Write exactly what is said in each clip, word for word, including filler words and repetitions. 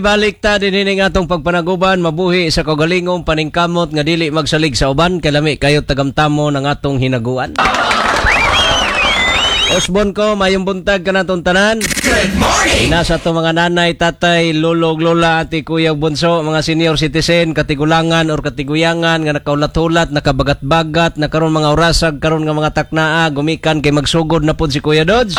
Balik ta din nga atong pagpanaguban, mabuhi sa kaugalingong paningkamot nga dili magsalig sa uban kay lami kayo tagamtamo ng atong hinaguan. Osbon ko, mayong buntag kanatong tanan. Good morning. Ina sa ato mga nanay, tatay, lolo, ug lola, ate, kuya, ug bunso, mga senior citizen, katigulangan or katiguyangan nga nakaulat-ulat, nakabagat-bagat, na karon mga orasag, karon nga mga taknaa, gumikan kay magsugod na pod si Kuya Dodge.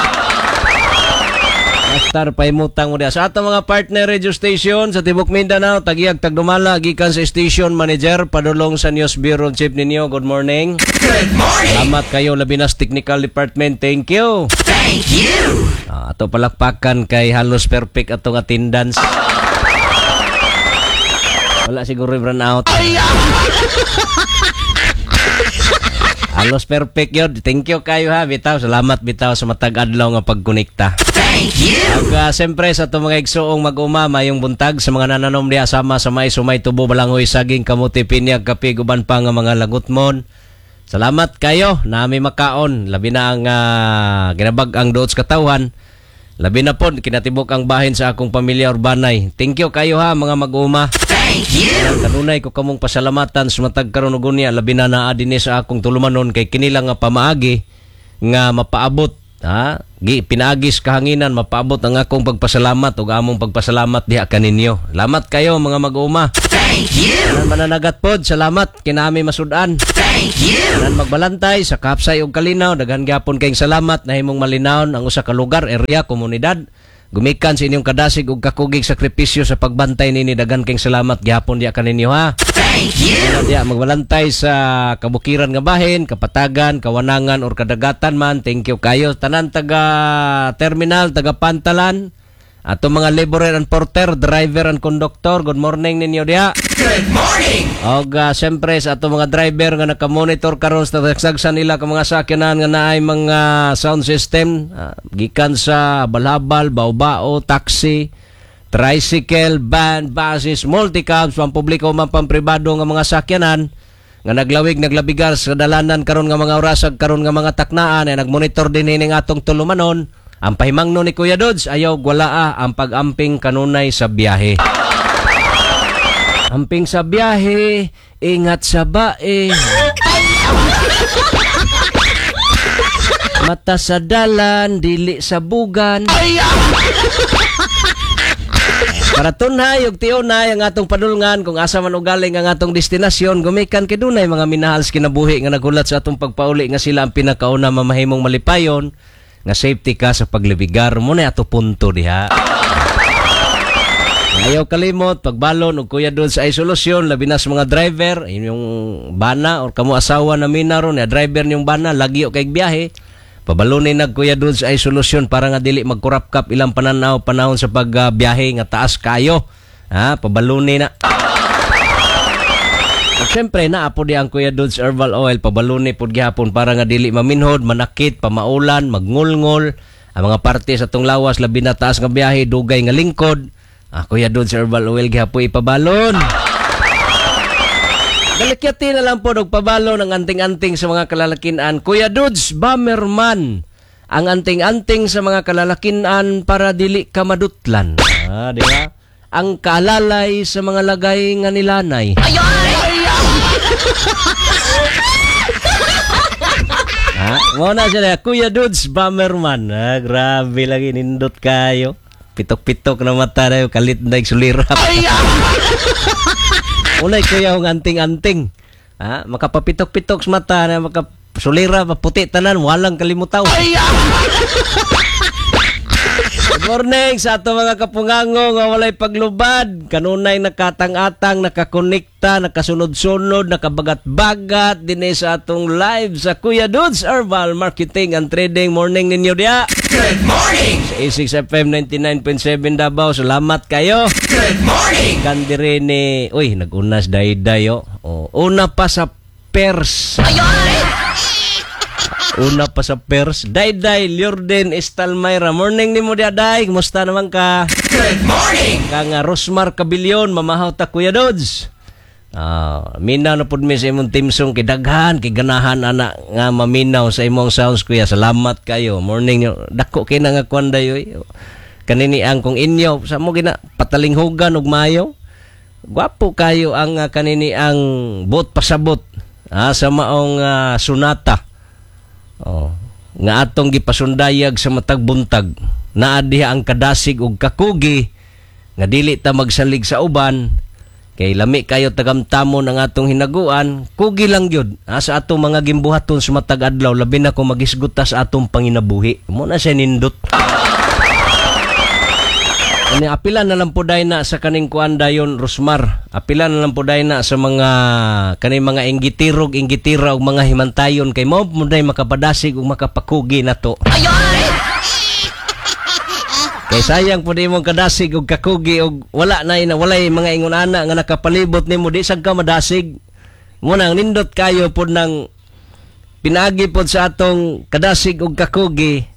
Master, paimutang mo diya. Sa atong mga partner radio station sa Tibok Mindanao, tagiyag tagdumala, gikan sa station manager, padulong sa news bureau chief ninyo. Good morning. Good morning. Salamat kayo, labi na sa technical department. Thank you. Thank you. Ah, ato palakpakan kay halos perfect atong attendance. Wala siguro run out. Halos perfect yun. Thank you kayo ha, bitaw. Salamat bitaw sa matag adlaw nga pagkonekta. Thank you. Ag uh, siyempre sa atong mga igsuong mag-uma, mayong buntag sa mga nananom diha sama sa mais, sumay, tubo, balanghoy, saging, kamuti, pinyag, kape, guban pa nga mga lagutmon. Salamat kayo nami makaon. Labi na ang uh, ginabag ang duot sa katawhan. Labi na pod kinatibok ang bahin sa akong pamilya urbanay. Thank you kayo ha, mga mag-uma. Thank you. Kanunay ko kamong pasalamatan sa matag karon og unya, labi na naa dinhi sa akong tulumanon kay kini lang nga pamaagi nga mapaabot, ha, gi pinaagis kahanginan mapaabot ang akong pagpasalamat ug among pagpasalamat diha kaninyo. Salamat kayo, mga mag-uma. Thank you. Tanan mananagat pod, salamat kinami masud-an. Thank you. Tanan magbalantay sa kapsay ug kalinaw, daghan gyapon kayong salamat nahimong malinawon ang usa ka lugar, area, komunidad. Gumikan sa inyong kadasig ug kakugig sakripisyo sa pagbantay nini, daghan kayong salamat gyapon diha kaninyo ha. Thank you. Diya magbalantay sa kabukiran nga bahin, kapatagan, kawanangan or kadagatan man. Thank you kayo. Tanan taga terminal, taga pantalan, ato mga laborer and porter, driver and conductor, good morning ninyo diha. Good morning. Og uh, siyempre sa ato mga driver nga naka-monitor karon sa tagsagsan nila ka mga sakyanan nga naay mga sound system, ah, gikan sa balhabal, bao-bao, taxi, tricycle, van, buses, multicabs, pampubliko man pampribado nga mga sakyanan nga naglawig naglabigar sa dalanan karon nga mga orasag karon nga mga taknaan ay nagmonitor din ining atong tulumanon. Ang pahimangno ni Kuya Dodge, ayaw walaa ang pag-amping kanunay sa biyahe. Amping sa biyahe, ingat sa bae. Mata sa dalan, dili sa bugan. Para tunhay ug tiunay ang atong padulngan kung asa man ugaling ang atong destinasyon, gumikan kay dunay mga minahal sa kinabuhi nga nagulat sa atong pagpauli nga sila ang pinakauna mamahimong malipayon nga safety ka sa paglibigar mo na ato punto diha. Ayaw kalimot, pagbalon og Kuya Dodge ay solusyon, labi na sa mga driver, inyong bana or kamo asawa na mina ron, ya driver niyong bana, lagi o kay biyahe. Pabalonin nag Kuya Dodge ay solusyon para nga dili magkurap-kap ilang pananaw panahon sa pagbiyahe nga taas kayo. Ha, pabalonin na. At syempre, naa po di ang Kuya Dodge Herbal Oil, pabaluni pod gihapon para nga dili maminhod, manakit, pamaulan, magngulngol, ang mga parte sa tong lawas, labi na taas nga biyahe, dugay nga lingkod. Ah, Kuya Dodge Herbal Oil gihapon ipabalon. Dalikyati na lang po og pabalon ang anting-anting sa mga kalalakinan. Kuya Dodge, Bomberman. Ang anting-anting sa mga kalalakinan para dili ka madutlan. Ah, di ba? Ang kaalalay sa mga lagay nga nilanay. Ha? Mo na siya, Kuya Dodge, Bomberman. Ah, grabe lagi nindot kayo. Pitok-pitok na mata na kalit na sulirap. Unay kuya ang anting-anting. Ha? Makapapitok-pitok sa mata na makasulira, maputi tanan, walang kalimutaw. Good morning sa ato mga kapungango nga walay paglubad. Kanunay nakatang-atang, nakakonekta, nakasunod-sunod, nakabagat-bagat dinhi sa atong live sa Kuya Dodge Herbal Marketing and Trading. Morning ninyo diya. Good morning. Sa A six F M ninety-nine point seven Davao. Salamat kayo. Good morning. Kandire ni, uy, nagunas dayday oh. Oh, una pa sa pers. Una pa sa pers. Dayday Liorden Estalmayra. Morning nimo diya, Day. Kumusta naman ka? Good morning. Kang Rosmar Cabilion, mamahaw ta Kuya Dodge. Ah, minaw na pud mi sa imong team song kay daghan kay ganahan ana nga maminaw sa imong sounds kuya. Salamat kayo. Morning nyo. Dako kay na nga kwan dayoy. Kanini ang kung inyo sa mo gina patalinghugan og maayo. Gwapo kayo ang uh, kanini ang bot pasabot ah, sa maong uh, sunata. Oh, nga atong gipasundayag sa matag buntag. Naa diha ang kadasig ug kakugi nga dili ta magsalig sa uban kay lami kayo tagamtamon ang atong hinaguan, kugi lang gyud ah, sa atong mga gimbuhaton sa matag adlaw, labi na kung magisgot ta sa atong panginabuhi. Mo na siya nindot. Ani apila na lang po na sa kaning kuan dayon Rosmar. Apila na lang po na sa mga kaning mga inggitirog, inggitira ug mga himantayon kay mao mo day makapadasig ug makapakugi nato. Kay sayang po di mong kadasig ug kakugi ug wala na ina walay mga ingon ana nga nakapalibot nimo di sad ka madasig. Mo nang nindot kayo pod nang pinaagi pod sa atong kadasig ug kakugi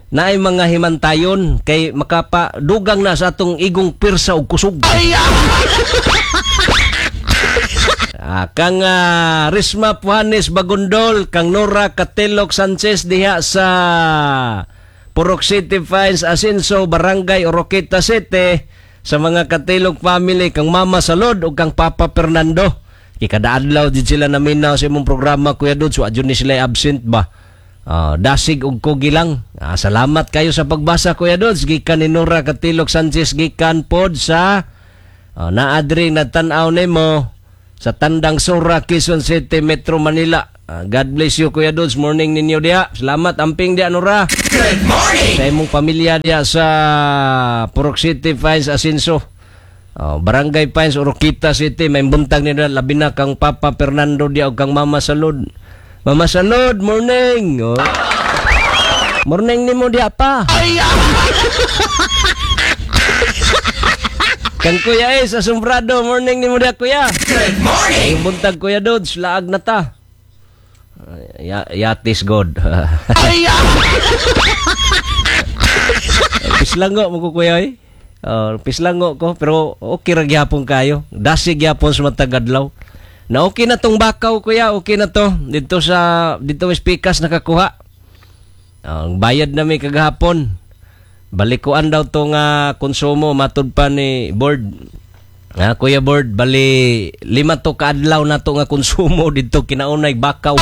naay mga himantayon kay makapadugang na sa atong igong pirsa ug kusog. Ah, kang uh, Risma Puhanes Bagundol, kang Nora Katelok Sanchez diha sa Purok City Fines Asenso, Barangay Oroqueta City, sa mga Katelok family, kang Mama Salod ug kang Papa Fernando. Kay kada adlaw di sila naminaw sa imong programa Kuya Dudes, wa jud ni sila absent ba. Uh, dasig og kugi lang. Ah, salamat kayo sa pagbasa Kuya Dudes. Gikan ni Nora Katilok Sanchez, gikan pod sa uh, naadri nagtan-aw nimo sa Tandang Sora, Quezon City, Metro Manila. Uh, God bless you Kuya Dudes. Morning ninyo diha. Salamat amping diha Nora. Good morning. Sa imong pamilya diha sa Purok City Fines Asenso. Oh, Barangay Pines Oroquita City, may buntag nila labi na kang Papa Fernando diha ug kang Mama Salud. Mama Salud, morning. Oh. Morning nimo diha pa. Kang Kuya Ace Asombrado, morning nimo diha Kuya. Good morning. Yung buntag Kuya Dudes, laag na ta. Ya, yatis God. Pislango mo ko Kuya eh. Uh, pislango ko pero okay ra gyapon kayo. Dasig gyapon sa matag adlaw. Na okay na tong bakaw kuya, okay na to. Dito sa dito sa Pikas nakakuha. Ang uh, bayad na mi kagahapon. Balikuan daw to nga konsumo matud pa ni board. Ah, Kuya Board, bali lima to kaadlaw na to nga konsumo dito kinaunay bakaw.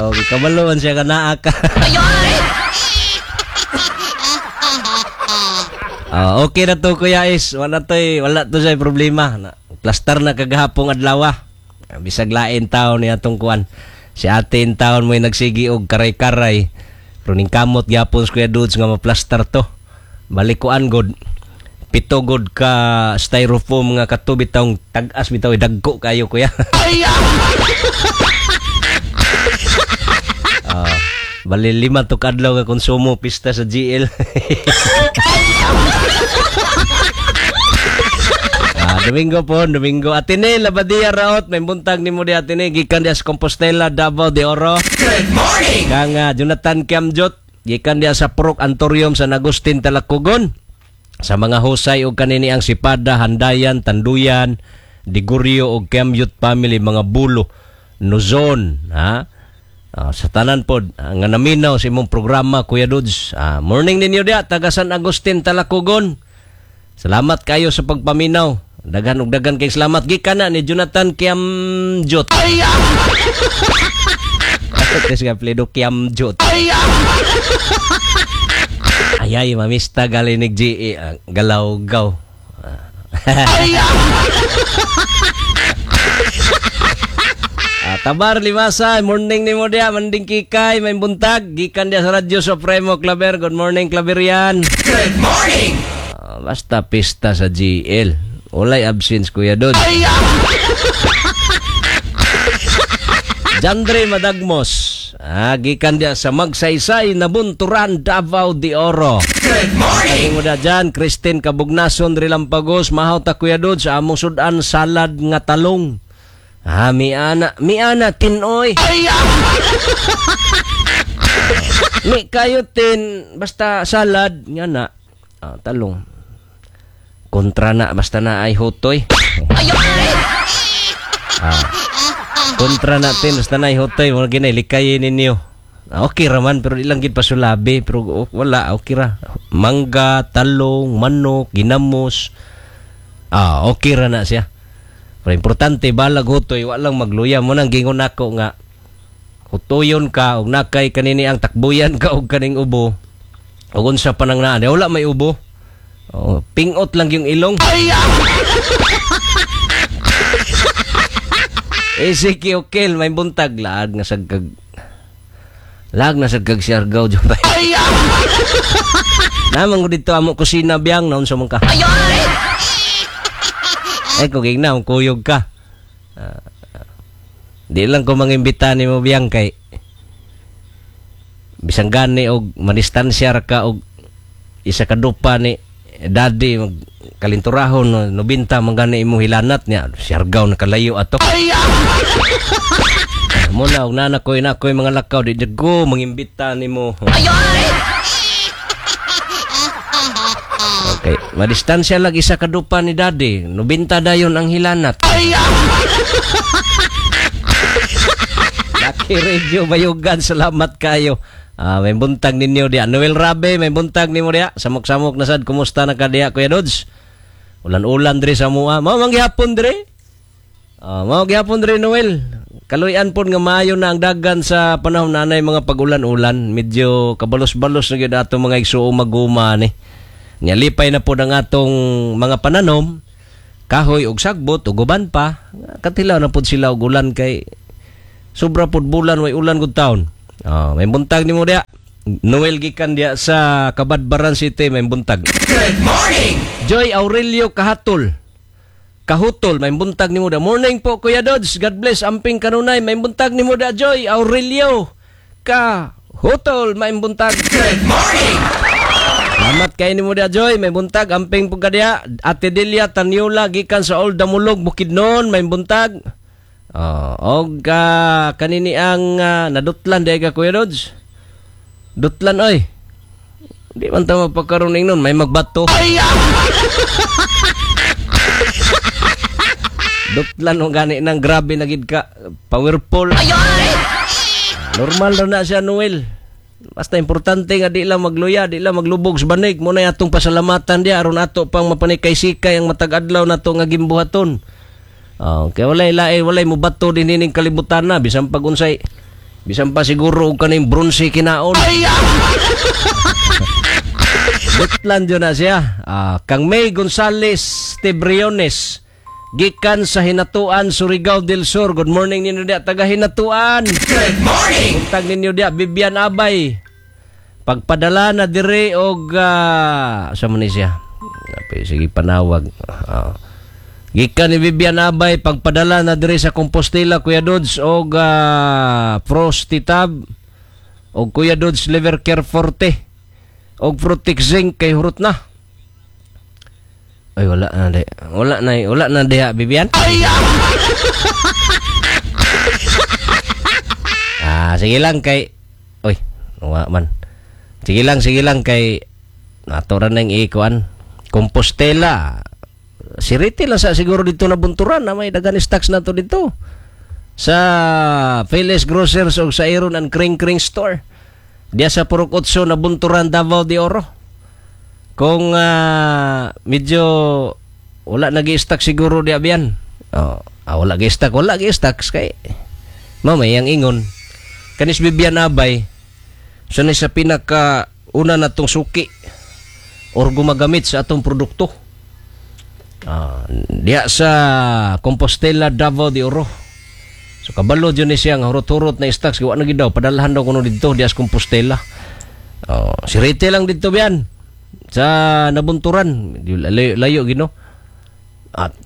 Okay, kabaloan siya ka naa ka. Uh, okay na to Kuya Is, wala to'y wala to siya problema. Na, plaster na kagahapong adlaw. Bisag lain taon ni atong kuan. Si ate in taon mo'y nagsigi og karay-karay. Pero ning kamot gyapon sa Kuya Dudes nga maplastar to. Balikuan god. Pito god ka styrofoam nga kato bitawng tag-as bitaw dagko kayo kuya. Uh, bali lima to kadlaw nga konsumo pista sa G L. Ah, Domingo po, Domingo. Atine, Labadia Raot, may buntag nimo di Atine, gikan diha sa Compostela, Davao de Oro. Good morning. Kang uh, Jonathan Kiamjot, gikan diha sa Purok Antorium, San Agustin, Talacogon. Sa mga husay og kanini ang Sipada, Handayan, Tanduyan, Digurio og Kiamjot family, mga Bulo, Nuzon, ha? Uh, sa tanan pod uh, nga naminaw sa imong programa Kuya Dudes. Uh, morning ninyo diha taga San Agustin, Talacogon. Salamat kayo sa pagpaminaw. Daghan og daghan kay salamat gikan na ni Jonathan Kiamjot. Tes nga pledo Kiamjot. Ayay mamista galinig G E uh, galaw-gaw. Uh, Tabar Limasa, morning nimo diha, manding kikay, may buntag gikan diha sa Radyo Supremo Claver. Good morning Claverian. Good morning. Uh, basta pista sa G L. Walay absence Kuya Dod. Jandre Madagmos, ah, gikan diha sa Magsaysay, Nabunturan, Davao de Oro. Good morning. Mo da dyan, Christine Kabugnason, Rilampagos, mahaw ta Kuya Dod sa among sudan salad nga talong. Ah, miana, miana tinoy. Mi kayo tin basta salad nga na. Ah, talong. Kontra na basta na ay hotoy. Ah, kontra na tin basta na ay hotoy mo ginay likayin ninyo. Ah, okay raman pero di lang gid pasulabi pero oh, wala, okay ra. Mangga, talong, manok, ginamos. Ah, okay ra na siya. Pero importante balag hutoy, wa lang magluya mo nang gingon nako nga hutoyon ka og nakay kanini ang takbuyan ka og kaning ubo. Og unsa pa nang naa, wala may ubo. Oh, pingot lang yung ilong. Ezekiel Okel, may buntag laag na sagkag laag na sagkag Siargao jud. Namang ko dito amo kusina biyang naon sa man ka. Eh kung gigna kuyog ka. Uh, di lang ko mangimbita nimo biyang kay bisan gani og madistansya ra ka og isa ka dupa ni daddy mag kalinturahon no, nobinta man gani imo hilanat niya Siargao nakalayo ato. Muna og nana koy na koy mga lakaw di jud ko mangimbita nimo. Okay, madistansya lang isa ka dupa ni daddy, nobinta dayon ang hilanat. Lucky Radio Bayugan, salamat kayo. Ah, may buntag ninyo diya. Noel Rabe, may buntag nimo diya. Samok-samok na sad, kumusta na ka diya, Kuya Dodge? Ulan-ulan diri sa mua. Mao man gihapon diri. Ah, mao gihapon diri Noel. Kaluy-an pod nga maayo na ang dagan sa panahon nanay mga pag-ulan-ulan. Medyo kabalos-balos na gyud ato mga igsuong maguma ni. Nya lipay na pod ang atong mga pananom, kahoy og sagbot ug uban pa. Katilaw na pod sila og ulan kay sobra pod bulan way ulan gud taon. Oh, may buntag nimo diya. Noel gikan diya sa Cabadbaran City, may buntag. Good morning. Joy Aurelio Kahatol. Kahutol, may buntag nimo diya. Morning po Kuya Dodge. God bless amping kanunay. May buntag nimo diya Joy Aurelio Kahutol, may buntag. Good morning. Salamat kay nimo diya Joy, may buntag amping pud ka diya. Ate Delia Tanyola gikan sa Old Damulog Bukidnon, may buntag. Oh, og uh, kanini ang uh, nadutlan di ka Kuya Dodge. Dutlan oy. Di man ta magpakaroon nun, may magbato. Dutlan og gani nang grabe na gid ka, powerful. Normal ra na siya Noel. Basta importante nga di lang magluya, di lang maglubog sa banig. Muna atong pasalamatan diya aron ato pang mapanikay-sikay ang matag adlaw nato nga gimbuhaton. Oh, kay walay lae, walay mobato din ining kalibutan na bisan pag unsay bisan pa siguro og kaning bronze kinaon. Dutlan jud na siya. Ah, kang May Gonzales Tebriones gikan sa Hinatuan, Surigao del Sur. Good morning ninyo diya taga Hinatuan. Good morning. Buntag ninyo diya Bibian Abay. Pagpadala na dire og uh, sa man ni siya. Sige panawag. Ah. Gikan ni Bibian Abay pagpadala na diri sa Compostela Kuya Dodge og uh, Frosty Tab og Kuya Dodge Liver Care Forte og Protect Zinc kay hurot na. Ay wala na di. Wala na wala na diha Bibian. Ah, sige lang kay oy, wa man. Sige lang, sige lang kay nato ra nang ikuan Compostela. Si Riti lang sa siguro dito na bunturan na may dagan stocks na to dito sa Phyllis Grocers o sa Iron and Kring Kring Store diya sa Purok Otso na bunturan Davao de Oro. Kung uh, medyo wala nagi-stock siguro diya biyan. Oh, ah, wala gi-stock, wala gi-stock kay mamay ang ingon kanis Bibian Abay so ni sa pinaka una natong suki or gumagamit sa atong produkto. Ah, diya sa Compostela Davao de Oro. So kabalo jud ni siya nga hurot-hurot na stocks gawa na gid daw padalhan daw kuno didto diya sa Compostela. Oh, si Rete lang didto biyan sa nabunturan, layo, layo gino. At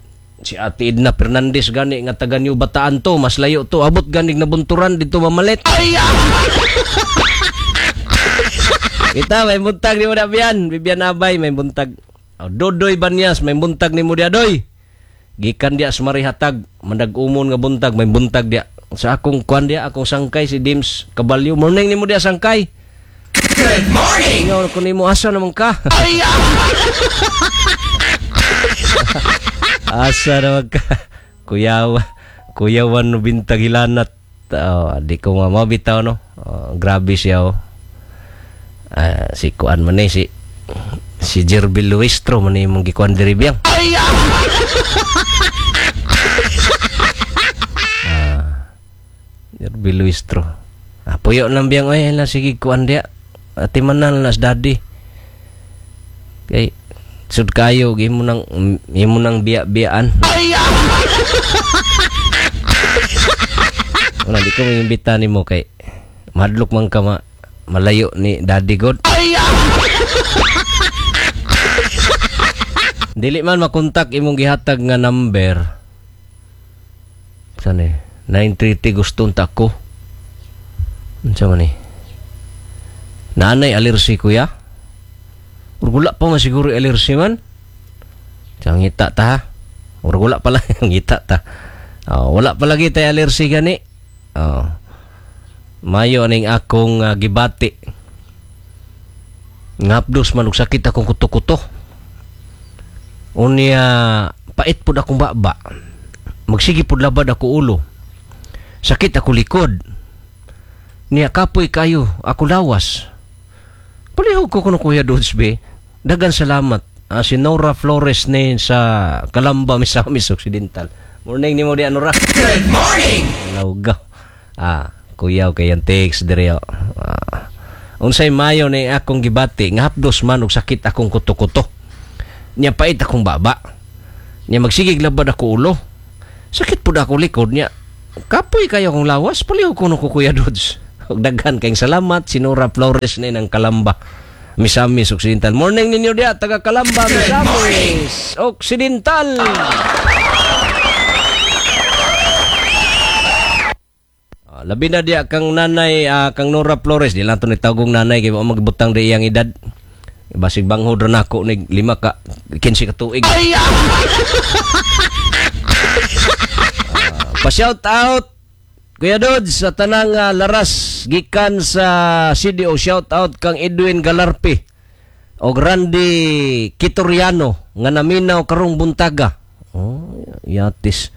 si Ate Edna Fernandez gani nga taga New Bataan to, mas layo to, abot ganig nabunturan didto mamalit. Kita may buntag ni mo na biyan, Bibian Abay may buntag. Oh, Dodoy Banyas, may buntag ni mo diya, doy. Gikan diya sa Marihatag, mandag-umon nga buntag, may buntag diya. Sa akong kuan diya, akong sangkay si Dims Caballo. Morning ni mo diya sangkay. Good morning. Ingaw ko nimo asa naman ka. Asa naman ka. Kuyawa, kuyawan no bintag hilanat. Oh, di ko nga mabitaw no. Oh, grabe siya oh. Ah, si kuan man ni si si Jerbil Luistro man ni imong gikuan diri biyang. Ah, Jerbil Luistro. Ah, puyo lang biyang oy la sige kuan dia. Ati man na nas daddy. Kay sud kayo imo nang imo nang biya-biyaan. Wala di ko maimbita nimo kay madlok man ka ma, malayo ni Daddy God. Dili man makontak imong gihatag nga number. Saan eh? nine thirty gustong ta ko. Unsa man eh? Naanay alersi kuya? Urgula pa man siguro alersi man. Sa ngita ta ha? Urgula pala ngita ta. Oh, wala pa lagi tay alersi gani. Oh. Mayo aning akong uh, gibati. Ngapdos man og sakit akong kuto-kuto. Unya pait pud akong baba. Magsige pud labad ako ulo. Sakit ako likod. Niya kapoy kayo ako lawas. Palihog ko kuno Kuya Dudes be. Dagan salamat. Uh, si Nora Flores ni sa Calamba, Misamis Occidental. Morning nimo di Nora. Good morning. Laugaw. Ah, kuyaw kay ang text diri. Ah. Unsay mayo ni akong gibati nga hapdos man og sakit akong kuto-kuto. Nya pait akong baba. Nya magsigig labad ako ulo. Sakit pud ako likod nya. Kapoy kayo akong lawas, palihog kuno ko Kuya Dudes. Og daghan kayong salamat si Nora Flores ni ng Calamba, Misamis Occidental. Morning ninyo diya taga Calamba, Misamis Occidental. Labi na diya kang nanay, uh, kang Nora Flores. Di lang ito nitawgong nanay kay wa magbutang di iyang edad. Basig banghod ra nako ni lima ka kinse ka tuig. Uh, pa-shout out Kuya Dudes sa tanang uh, laras gikan sa C D O. Shout out kang Edwin Galarpe og Randy Kitoriano nga naminaw karong buntaga. Oh, yatis.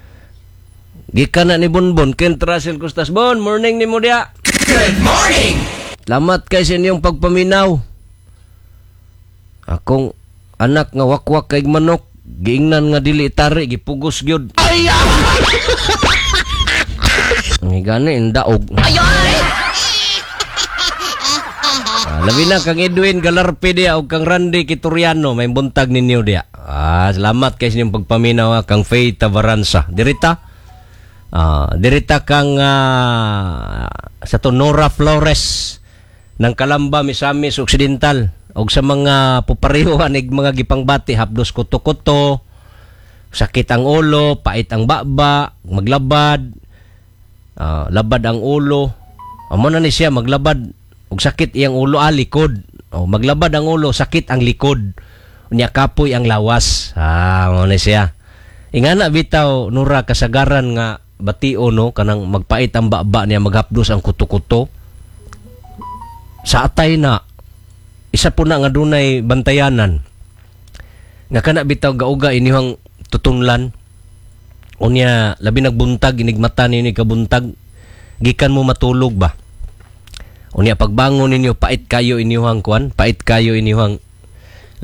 Gikan na ni Bonbon, Kent Russell Costas. Bon, morning ni mo diya. Good morning. Salamat kay sa inyong pagpaminaw. Akong anak nga wakwak kay manok, giingnan nga dili tari, gipugos gyud. Ang gani indaog. Ah, labi na kang Edwin Galarpe diya o kang Randy Kitoriano, may buntag ninyo diya. Ah, salamat kay sa inyong pagpaminaw kang Faye Tavaransa. Dirita. Ah, dirita kang uh, sa to Nora Flores ng Calamba, Misamis Occidental og sa mga pupareho anig mga gipangbati hapdos kuto-kuto, sakit ang ulo, pait ang baba, maglabad, uh, labad ang ulo. Amo na ni siya maglabad og sakit iyang ulo, ah, likod. O maglabad ang ulo, sakit ang likod. Unya kapoy ang lawas. Ah, mo na siya. Ingana bitaw Nora kasagaran nga batio no kanang magpait ang baba niya, maghapdos ang kuto-kuto. Sa atay na isa po na nga dunay bantayanan nga kana bitaw gauga inyong tutunlan. Unya labi nagbuntag inigmata ninyo kabuntag gikan mo matulog ba. Unya pagbangon ninyo pait kayo inyong kuan, pait kayo inyong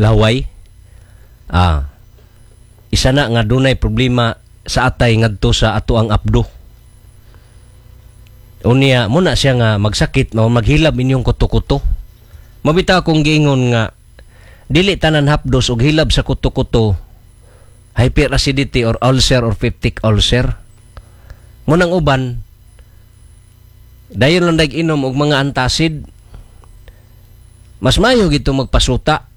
laway. Ah, isa na nga dunay problema sa atay ngadto sa ato ang abdo. Unya muna siya nga magsakit mao maghilab inyong kuto-kuto. Mabita akong giingon nga dili tanan hapdos og hilab sa kuto-kuto hyperacidity or ulcer or peptic ulcer. Munang uban dayon lang dag inom og mga antacid. Mas mayo gito magpasuta,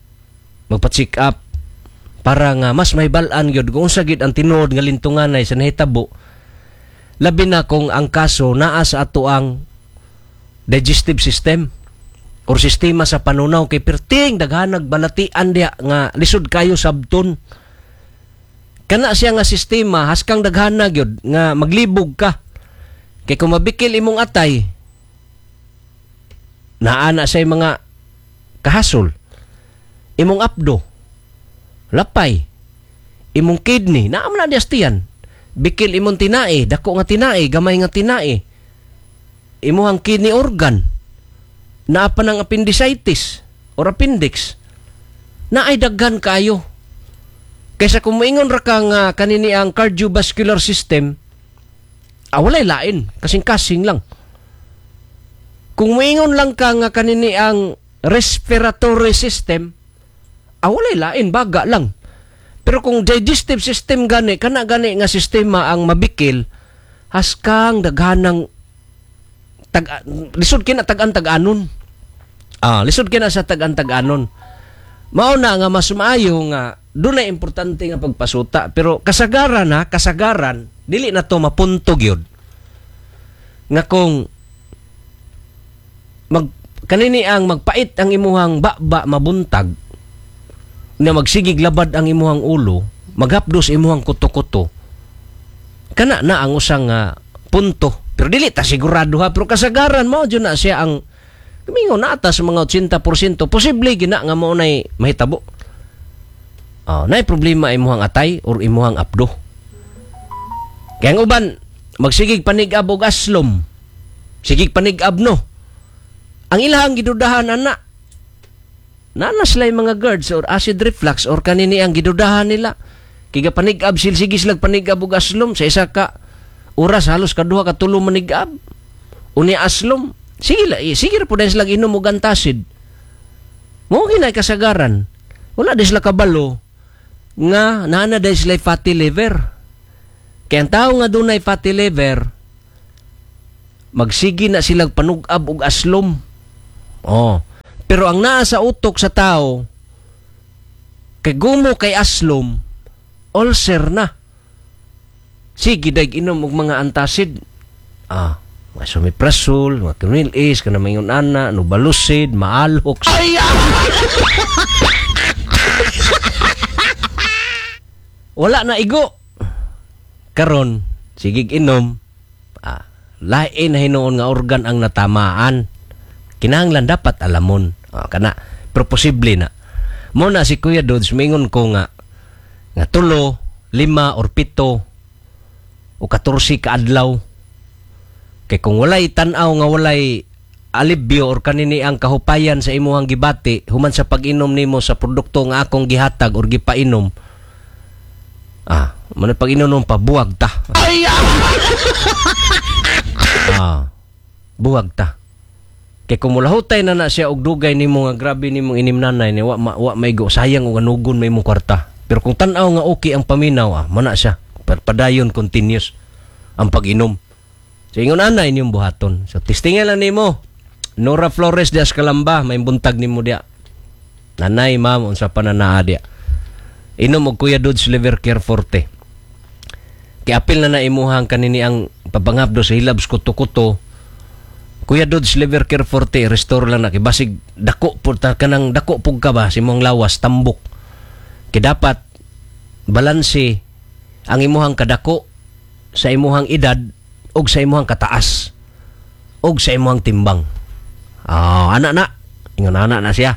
magpa-check up para nga mas may balaan gyud kung unsa gyud ang tinuod nga lintunganay sa nahitabo. Labi na kung ang kaso naa sa ato ang digestive system or sistema sa panunaw kay perting daghanag balatian diha nga lisod kayo sabton. Kana siya nga sistema haskang daghana gyud nga maglibog ka. Kay kung mabikil imong atay naa na say mga kahasol. Imong abdo lapay, imong kidney naa man na diastian. Bikil imong tinae, dako nga tinae, gamay nga tinae. imuhang kidney organ, naa pa ng appendicitis or appendix, na ay daghan kaayo. Kaysa kung moingon ra ka nga kanini ang cardiovascular system, ah, walay lain, kasing-kasing lang. Kung moingon lang ka nga kanini ang respiratory system, ah, walay lain, baga lang. Pero kung digestive system gani, kana gani nga sistema ang mabikil, haskang daghanang tag lisod kina tag-an tag-anon. Ah, lisod kina sa tag-an tag-anon. Mao na nga mas maayo nga doon na importante nga pagpasuta, pero kasagaran ha, kasagaran dili na to mapunto gyud nga kung mag kanini ang magpait ang imuhang baba mabuntag na magsigig labad ang imuhang ulo, maghapdos imuhang kuto-kuto, kana na ang usang uh, punto. Pero dili ta sigurado ha, pero kasagaran mao jud na siya ang mingon na ata sa mga eighty percent posible gina nga mao nay mahitabo. Oh, nay problema imuhang atay or imuhang apdo. Kaya ang uban magsigig panigab og aslom. Sigig panigab, no. Ang ilahang gidudahan ana naa na sila mga GERDs or acid reflux or kanini ang gidudahan nila. Kay panigab sil, sige silag panigab og aslom, sa isa ka oras halos kaduha ka tulo manigab. Unya aslom, sige la, eh, sige ra pud sila inom og antacid. Mao ginay kasagaran. Wala di sila kabalo nga naa na diay sila fatty liver. Kaya ang tao nga dunay fatty liver, magsige na silang panug-ab og aslom. Oh. Pero ang naa sa utok sa tao, kay gumo kay aslom, ulcer na. Sige dag inom og mga antacid. Ah, mga Esomeprazole, mga Cronil Ace, kana mayon ana, Novalucid, Maalox. Ay! Wala na igo. Karon, sigig inom, ah, lain na hinuon nga organ ang natamaan. Kinahanglan dapat alamon. Ah, kana, pero posible na. Mo na si Kuya Dodds, mingon ko nga, nga tulo, lima or pito o katorse ka adlaw. Kay kung walay tan-aw nga walay alibyo or kanini ang kahupayan sa imuhang gibati human sa pag-inom nimo sa produkto nga akong gihatag or gipainom, ah, man pag-inom pa, buwag ta. Ah, buwag ta. Kay kung mulahutay na na siya og dugay nimo nga grabe nimong inimnanay ni wa, ma, wa maigo, sayang og anugon may imong kwarta. Pero kung tan-aw nga okay ang paminaw, ah, mana siya. Padayon, continuous ang pag-inom. So ingon ana inyong buhaton. So testingan lang nimo. Nora Flores dias Kalamba, may buntag nimo dia. Nanay, ma'am, unsa pa na naa dia. Inom og Kuya Dodds Liver Care Forte. Kay apil na na imuhang kanini ang pabangabdo sa hilabs kuto-kuto. Kuya Dodds Liver Care Forte, restore lang na kay basig dako pud ta kanang dako pug ka ba sa imong lawas tambok. Kay dapat balanse ang imuhang kadako sa imuhang edad og sa imuhang kataas og sa imuhang timbang. Ah, ana na. Ingon ana na siya.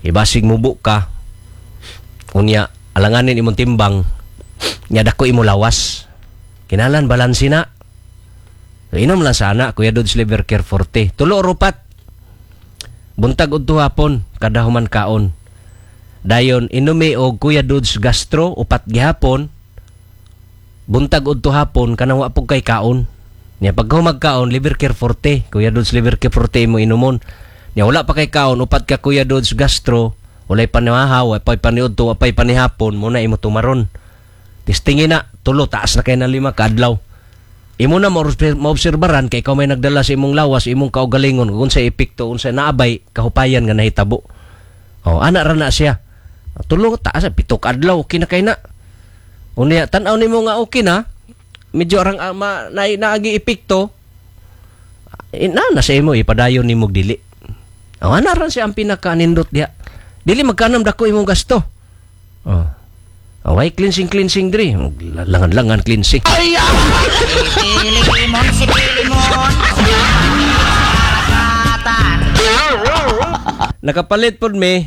Ibasig mubo ka. Unya alanganin imong timbang, nya dako imo lawas. Kinalan balanse na. So, inom lang sana Kuya Dodds Liver Care Forte. Tulo rupat. Buntag udto hapon kada human kaon. Dayon inumi og Kuya Dodds Gastro upat gihapon. Buntag udto hapon kanang wa pug kay kaon. Nya pag humag kaon, Liver Care Forte, Kuya Dodds Liver Care Forte imo inumon. Nya wala pa kay kaon, upat ka Kuya Dodds Gastro, walay panihaw, walay paniudto, walay panihapon, muna imo tumaron. Testingin na, tulo, taas na kay na lima kaadlaw. Imo na maobserbaran kay ikaw may nagdala sa imong lawas, imong kaugalingon, kung sa epekto, unsa naabay kahupayan nga nahitabo. Oh, ana ra na siya. Tulo, taas, pito ka adlaw, okay na kay na. Unya, tan-aw nimo nga okay na, medyo arang uh, ma, na, naagi epekto, eh, na, nasa imo, ipadayon nimo dili. Oh, ana ra siya ang pinaka-nindot diha. Dili magkanam dako imong gasto. Oh. Oh, ay cleansing cleansing diri. Langan-langan cleansing. Ay! Limon si Pilimon. Nakapalit pod mi.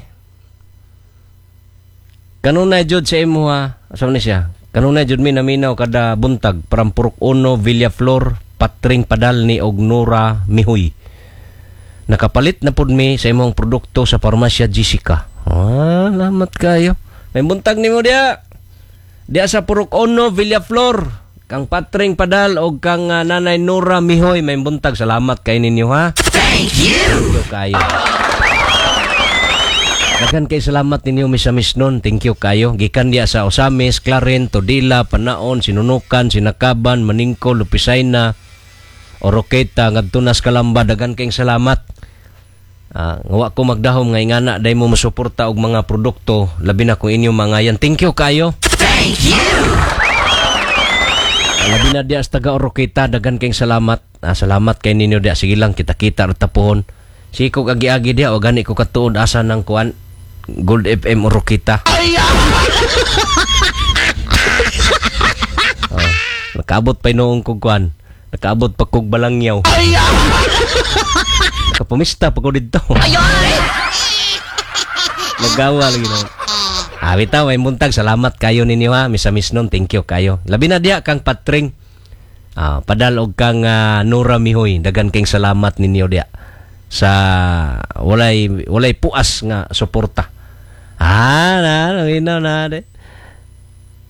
Kanunay jud sa imo ha. Asa ni siya? Kanunay jud mi naminaw kada buntag param Purok Uno, Villaflor, Patring Padalni og Nora Mihoy. Nakapalit na pud mi sa imong produkto sa Parmasya Jessica. Ah, salamat kayo. May buntag nimo diya. Diya sa Purok Ono, Villaflor. Kang Patring Padal og kang uh, Nanay Nora Mihoy, may buntag. Salamat kay ninyo, ha. Thank you. Thank you kayo. Daghan kay salamat ninyo, misamis nun. Thank you kayo. Gikan diya sa Osamis, Clarin, Tudela, Panaon, Sinunukan, Sinakaban, Maningco, Lupisayna, Oroqueta, ngadto nas Kalamba. Daghan kayong salamat. Ah, nga wa ko magdahom nga ingana day mo mosuporta og mga produkto, labi na kung inyong mga yan. Thank you kayo. Thank you. Ah, labi na diya sa taga Oroqueta, daghan kayong salamat. Ah, salamat kay ninyo diya. Sige lang, kita-kita ra tapuhon. Sige ko agi-agi diya o gani ko katuod asa ng kuan Gold F M Oroqueta. Oh, nakaabot pa noong kog kuan. Nakaabot pa kog Balangyaw. Nakapumista pa ko didto. Nagawa lagi na. Ah, bitaw, may buntag. Salamat kayo ninyo, ha. Misamis nun, thank you kayo. Labi na diya kang Patring. Ah, Padal og kang ah, Nora Mihoy. Dagan kayong salamat ninyo diya sa walay walay puas nga suporta. Ah, na, na, na, de.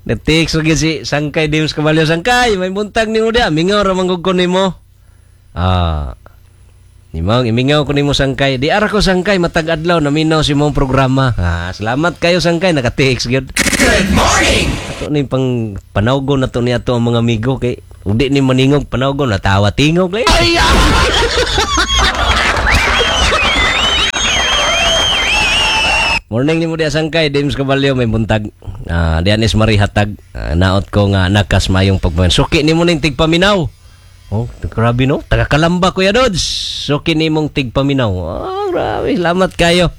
Nag-text lagi si Sangkay Dims Caballo. Sangkay, may buntag nimo diya. Mingaw ra man gud ko nimo. Ah, Nimang, imingaw ko nimo, Sangkay. Di ara ko, Sangkay, matag adlaw naminaw si mong programa. Ah, salamat kayo, Sangkay, naka-text gyud. Good morning. Ato ni pang panawgon na to ni ato ang mga amigo kay udi ni maningog panawgon natawa tingog lay. Morning nimo diya, Sangkay Dims Caballo, may buntag. Ah, diyan is Marie Hatag. Ah, naot ko nga nakas mayong pagmayon. Suki nimo ning tigpaminaw. Oh, grabe no. Taga Kalamba, Kuya Dodds. Suki nimong tigpaminaw. Oh, grabe. Salamat kayo.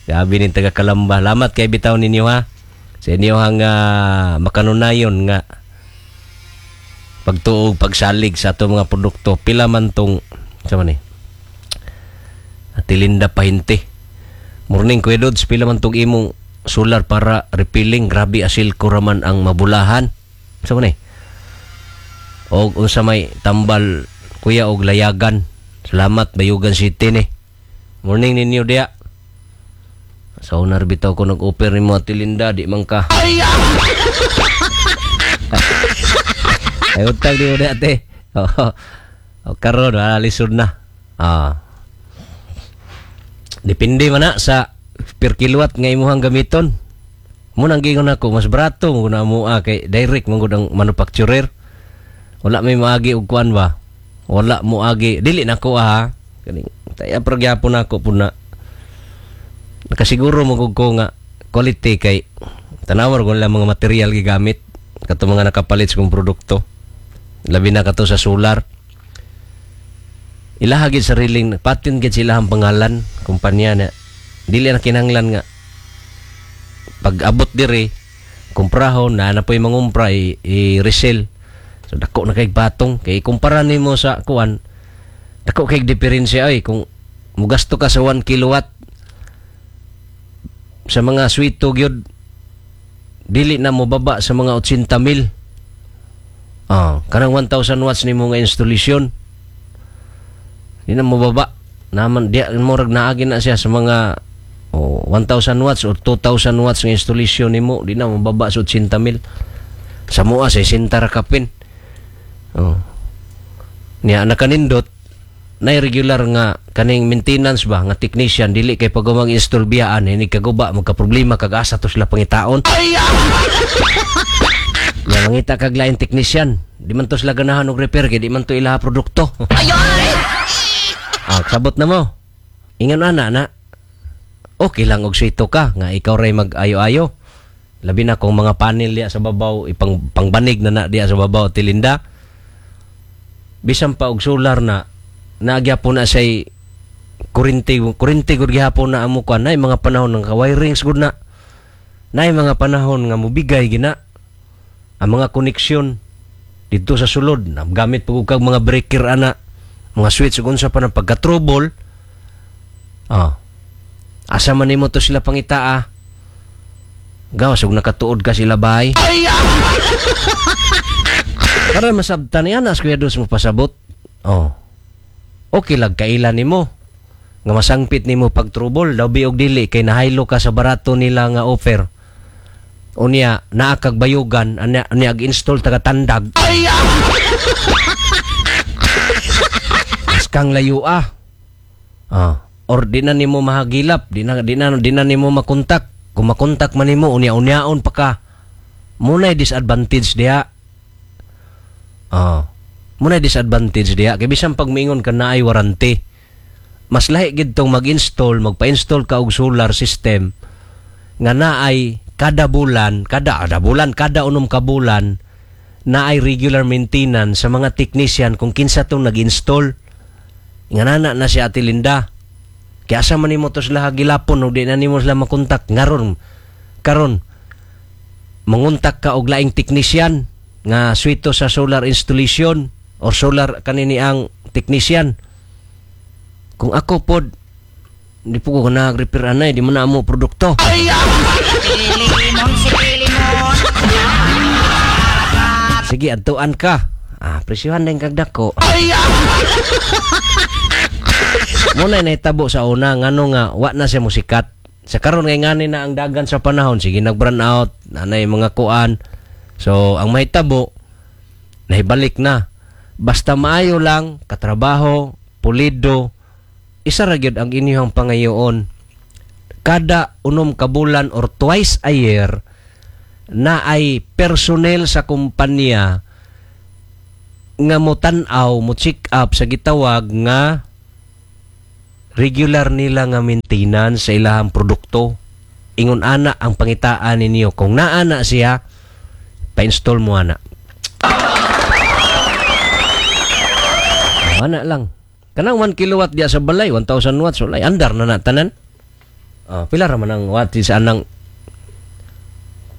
Grabe ning taga Kalamba. Salamat kay bitaw ninyo, ha. Sa inyo ang uh, makanunayon nga pagtuog, pagsalig sa ato mga produkto. Pila man tong sa man eh. Ate Linda Pahinte. Morning, Kuya Dodds, pila man tong imong solar para refilling? Grabe asil ko raman ang mabulahan. Sa man eh. Og unsa may tambal, kuya, og layagan. Salamat, Bayugan City ni. Morning ninyo diya. Sa unar bitaw ko nag-offer nimo, Ate Linda, di man ka. Ay utang di mo diya, ate. Oo. O karon wala lisod na. Ah. Depende man na sa per kilowatt nga imuhang gamiton. Mo nang giingon ako mas barato mo na mo ah, kay direct man gud ang manufacturer. Wala may maagi og kuan ba. Wala mo agi, dili na ko ah. Kaning taya pero gyapon ako pud na. Nakasiguro mo gud ko nga quality kay tanawar ko nila mga material gigamit kato mga nakapalit sa kong produkto. Labi na kato sa solar. Ilaha gid sariling patin gid sila ang pangalan kumpanya na dili na kinahanglan nga pag abot diri kumprahon na na po'y mangumpra i, i-resell. So dako na kay batong kay kumpara nimo sa kuan, dako kay diferensya ay kung mugasto ka sa one kilowatt sa mga sweet gyud dili na mobaba sa mga eighty mil. Ah, kanang one thousand watts nimo nga installation di na mobaba naman di murag naagi na siya sa mga oh, one thousand watts or two thousand watts nga installation nimo di na mobaba sa eighty mil. Sa mua sa sesenta ra kapin. Oh. Niya nakanindot nay regular nga kaning maintenance ba nga technician dili kay pag mag-install biyaan ini kaguba magka problema kag asa to sila pangitaon. Nya mangita kag lain technician, di man to sila ganahan og repair kay di man to ilaha produkto. Ah, sabot na mo. Ingon ana na. Okay lang og sito ka nga ikaw ray mag-ayo-ayo. Labi na kung mga panel diya sa babaw ipang pangbanig na na diya sa babaw tilinda. Bisan pa og solar na naagyapon na say kurente, kurente gud gihapon na amo kuan nay mga panahon ng ka-wirings gud na. Nay mga panahon nga mobigay gina ang mga koneksyon dito sa sulod, na gamit pag kag mga breaker ana, mga switch ug unsa pa na pagka-trouble. Ah. Asa man nimo to sila pangitaa? Gawas og nakatuod ka sila bay. Para masabtan niya na, Kuya Dudes mo pasabot. Oh. Okay lag kaila nimo nga masangpit nimo pag trouble daw bi og dili kay nahaylo ka sa barato nila nga offer. Unya naa kag bayugan anya, anya ag-install taga tandag. Kang layo ah. Ah, or di na nimo mahagilap, di na di na di na nimo makontak. Kung makontak man nimo unya-unyaon pa ka. Muna'y disadvantage diha. Ah. Muna'y disadvantage diha kay bisan pag miingon ka naay warranty. Mas lahi gid tong mag-install, magpa-install ka og solar system nga naay kada bulan, kada kada bulan, kada unom ka bulan naay regular maintenance sa mga technician kung kinsa tong nag-install. Nga nana na si Ate Linda. Kaya asa man nimo to sila gilapon og di na nimo sila makontak ngaron karon manguntak ka og laing technician nga suwito sa solar installation or solar kanini ang technician. Kung ako pod di po ko nag-repair anay, di man na amo produkto. Sige, adtuan ka. Ah, presyuhan din kag dako. Muna nahitabo sa una ngano nga wa na siya musikat. Sa karon ngay ngani na ang dagan sa panahon, sige nag-brown out, nanay mga kuan. So ang mahitabo nahibalik na. Basta maayo lang katrabaho, pulido, isa ra gyud ang inyong pangayoon. Kada unom ka bulan or twice a year na ay personnel sa kumpanya nga mo tan-aw, mo check up sa gitawag nga regular nila nga maintenance sa ilahang produkto. Ingon ana ang pangitaan ninyo. Kung naana siya, pa-install mo ana. Ana lang. Kanang one kilowatt diya sa balay, one thousand watts, walay andar na na tanan. Oh, pila ra man ang watt sa anang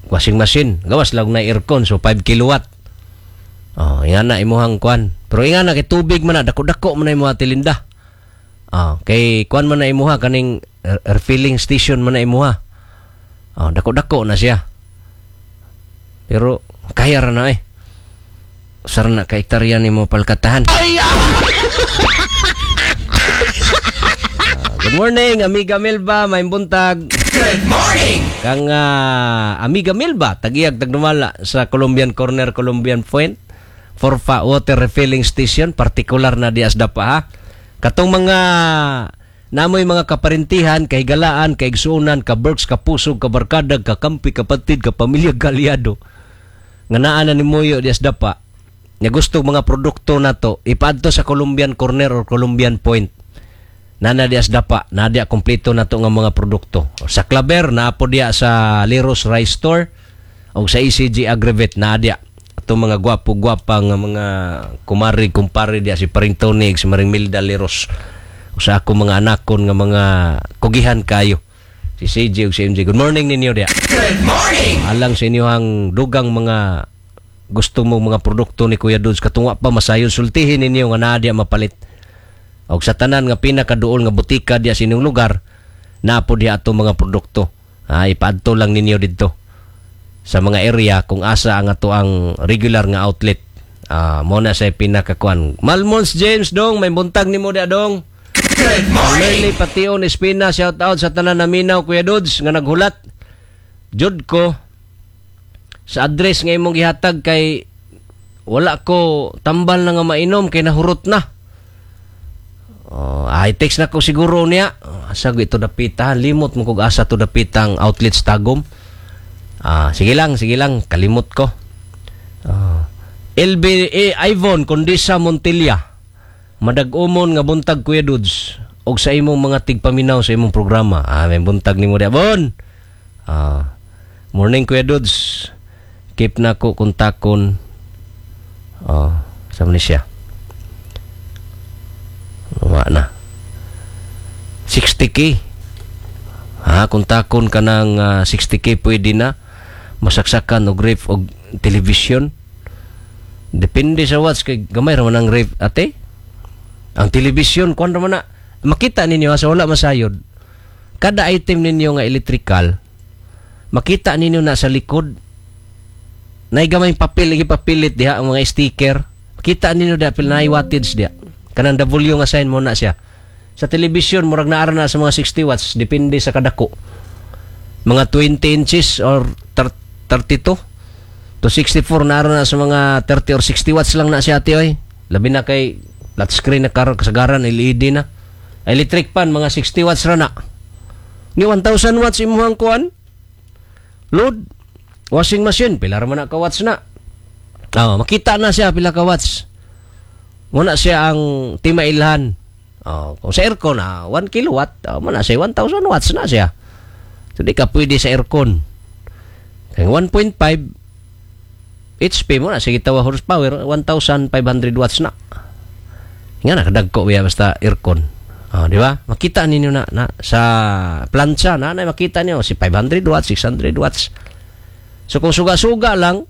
washing machine. Gawas lang na aircon, so five kilowatt. Oh, inga na imuhang kuan. Pero inga na kay tubig man na, dako-dako man na imuha tilinda. Oh, kay kuan man na imuha kaning refilling station man na imuha. Oh, dako-dako na siya. Pero kaya ra na eh. Sar na ka hektarya nimo palkatahan. Uh, good morning, Amiga Melba, may buntag. Good morning. Kang uh, Amiga Melba, tagiyag tagdumala sa Colombian Corner, Colombian Point. Forfa Water Refilling Station, partikular na dias dapa ha. Katong mga namoy mga kaparintihan, kahigalaan, kaigsuonan, kaberks, kapusog, kabarkadag, kakampi, kapatid, kapamilya, galyado. Nga naa na ni Moyo dias dapa. Nga gusto mga produkto nato, ipaadto sa Colombian Corner or Colombian Point. Nana dias dapa, na diya kompleto nato nga mga produkto. Sa Claver, naa po diya sa Leros Rice Store o sa E C G Agrivet, naa diya. Itong mga gwapo-gwapa nga mga kumari, kumpare diya si Paring Tony, si Maring Milda Leros. O sa ako mga anakon nga mga kugihan kayo. Si C J o si M J. Good morning ninyo diya. Good morning! Alang sa inyo ang dugang mga gusto mo mga produkto ni Kuya Dudes, katungwa pa masayon sultihin ninyo nga naa diya mapalit. Og sa tanan nga pinakaduol nga butika diya sa inyong lugar, naa po diya ato mga produkto. Ah, ipaadto lang ninyo didto sa mga area kung asa ang ato ang regular nga outlet. Ah, mo na sa pinakakuan. Malmons James dong, may buntag nimo diya dong. Good morning. Merly Pation Espina, shout out sa tanan na minaw Kuya Dudes nga naghulat. Jud ko sa address nga imong gihatag kay wala ko tambal na nga mainom kay nahurot na. Oh, ay text na ko siguro niya. Oh, asa ko ito dapita, limot mo kog asa to dapita ang outlet sa Tagum. Ah, sige lang, sige lang, kalimot ko. Oh. L B A Ivon Condesa Montilla. Madag-umon nga buntag Kuya Dudes og sa imong mga tigpaminaw sa imong programa. Ah, may buntag nimo diha, Bon. Ah, morning Kuya Dudes. Keep na ko kontakon. Oh, sa man siya. Wa na. sixty K. Ha, kontakon ka ng uh, sixty K pwede na masaksakan og ref og television. Depende sa watts kay gamay ra man ang ref ate. Ang television kuan ra man na makita ninyo sa wala masayod. Kada item ninyo nga electrical makita ninyo na sa likod Naay gamay papel gipapilit diha ang mga sticker. Kita ninyo diha pila naay wattage diha. Kanang W nga sign mo na siya. Sa television murag naa ra na sa mga sixty watts, depende sa kadako. Mga twenty inches or thirty-two to sixty-four, naa ra na sa mga thirty or sixty watts lang na siya, ate oy. Labi na kay flat screen na karon, kasagaran L E D na. Electric fan, mga sixty watts ra na. Ni one thousand watts imuhang kuan. Load. Washing machine, pila ra man na ka watts na? Oh, makita na siya pila ka watts. Muna siya ang timailhan. Oh, kung sa aircon, ah, one kilowatt, oh, muna siya one thousand watts na siya. So di ka pwede sa aircon. Kay one point five H P mo na sige tawa horsepower, one thousand five hundred watts na. Nga na kadagko biya basta aircon. Oh, di ba? Makita ninyo na, na sa plancha na, na makita niyo si five hundred watts, six hundred watts. So kung suga-suga lang,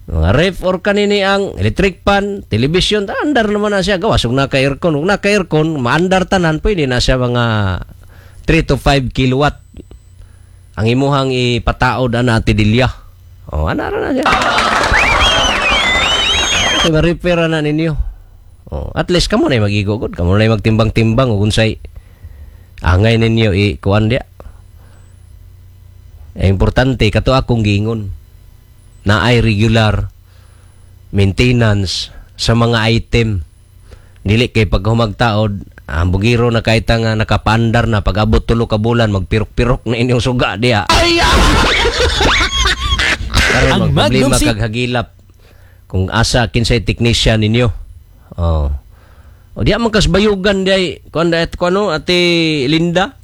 mga ref or kanini ang electric fan, television, andar naman na siya. Gawas, kung naka-aircon, kung naka-aircon, maandar tanan, pwede na siya mga three to five kilowatt. Ang imuhang ipataod ana, Ate Delia. Oh, ana ra na siya. Okay, ma-repair na ninyo. Oh, at least kamo na mag-igogod, kamo na magtimbang-timbang ug unsay angay ninyo i kuan dia. Eh, importante kato akong giingon na ay regular maintenance sa mga item. Dili kay pag humagtaod, ang bugiro na kahit nga nakapaandar na, pag abot tulo ka bulan, magpirok-pirok na inyong suga diya. Karon Ang magproblema Magnum si- kag hagilap kung asa kinsay technician ninyo. Oh. O diya man kasbayugan diay kuan at kuano, Ate Linda.